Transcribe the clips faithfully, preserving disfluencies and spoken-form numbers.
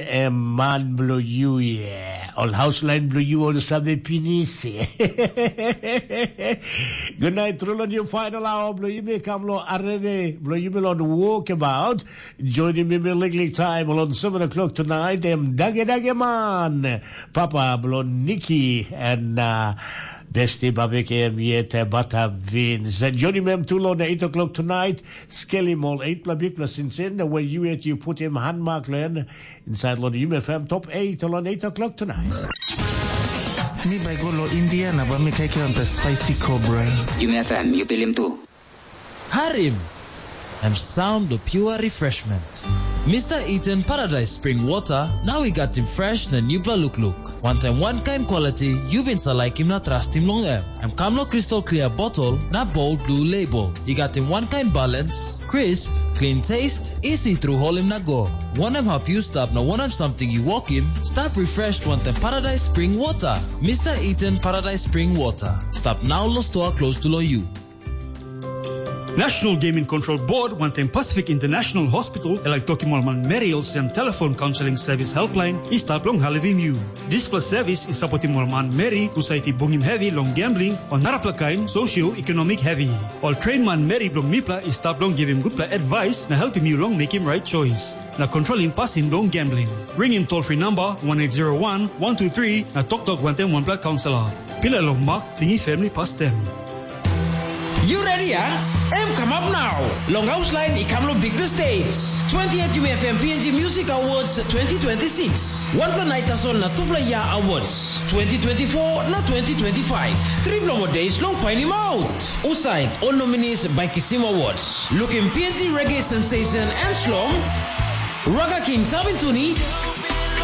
Em man bilong yu, yeah. Ol hauslain bilong yu ol save pinis. Good night, tru long yu final hour bilong yumi kam long arere bilong yumi long walkabout. Joinim yumi liklik time long seven o'clock tonight. Em dage dage man. Papa bilong Niki and uh, Besti Babik em yet uh, Bata Vins. And joinim em tu long eight o'clock tonight. Skelim ol eight pla bikpla sinsin. Where you at you put him hand mark len. Inside Lodi Yumi F M top eight on eight o'clock tonight. Mi bai go lo India na ba mi kaikiram ta spicy cobra. Yumi F M, yu pilim tu. Harim! Em sound lo pure refreshment. Mister Eden Paradise Spring Water, now we got him fresh na new bla look look. One time, one kind quality, you been sa like him na trust him long em. Em kam lo crystal clear bottle na bold blue label. I gat him one kind balance, crisp, clean taste, easy through holim na go. Wanem hap yu stap na wanem something yu wokim, stap refreshed wantaim Paradise Spring Water. Mister Eden Paradise Spring Water. Stap now lo store close to lo you. National Gaming Control Board wantaim Pacific International Hospital e laik tokim ol manmeri olsem telefon kaunseling sevis helpline i stap long helpim yu. Dispela sevis i sapotim ol manmeri husat i bungim hevi long gambling o narapela kain socio-economic hevi. Ol train manmeri bilong mipela i stap long givim gutpela advice na helpim yu long mekim right choice na kontrolim pasin bilong gambling. Ringim toll free number one eight zero one one two three na toktok wantaim wanpela kaunselor. Pilai long mak tingim family pastem. You ready, ah? Em kamap nau. Long haus lain i kam long bikpela stage. Twenty-eight Yumi F M P N G Music Awards twenty twenty-six. Wanpela nait tasol na tupela yia awards. Twenty twenty-four na twenty twenty-five. Tripela mo days long painim out. Usait ol nominees bai kisim awards. Lukim P N G Reggae Sensation and Slom. Raga King Tabintuni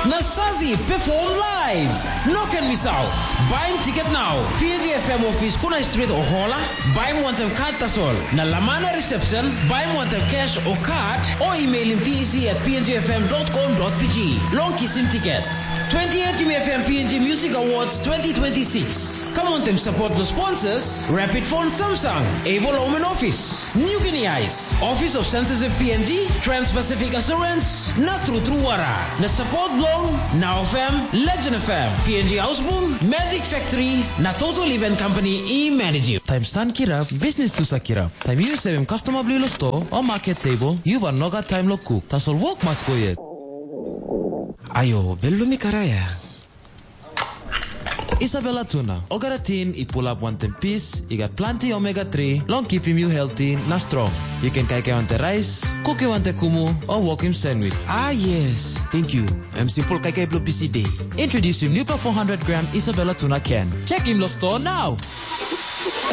na Sazi perform live. No ken misaut. Baim tiket nau. P N G F M office Kunai Street o Hola. Baim wantaim kat tasol. Na Lamana Reception, baim wantaim cash o kat o emailim T E C at P N G F M dot com dot P G. Long kisim tiket. Twenty-eight Yumi F M P N G Music Awards twenty twenty-six. Kam wantaim support lo sponsors, Rapid Phone Samsung, Able Home and Office, New Guinea Ice, Office of Censorship P N G, Trans-Pacific Assurance, na True True Wara. Na support bilong Now F M, Legend F M, P N G Houseboom, Magic Factory, na Total Event Company i manage. Taim san kirap, bisnis tu sa kirap. Taim yu sevim customer bilong lo store o market table, yu bai no gat taim lo cook. Tasol wok mas go yet. Ayo, belum mi karaya. Isabella Tuna, olgeta tin i pulap wantaim pis, i gat planti omega three long kipim yu healthy na strong. Yu ken kaikai wantaim rais, kuki wantaim kumu, o wokim sandwich. Ah yes, thank you. Em simple kaikai bilong busy day. Introducing new four hundred gram Isabella Tuna can. Check him lo store now.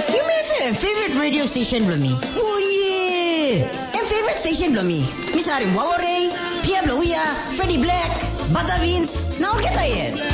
Yumi F M, favorite radio station bilong mi. Oh yeah! Em favorite station bilong mi. Mi sarim Wawarei, Pia Blawia, Freddy Black, Badavins, na olgeta yet.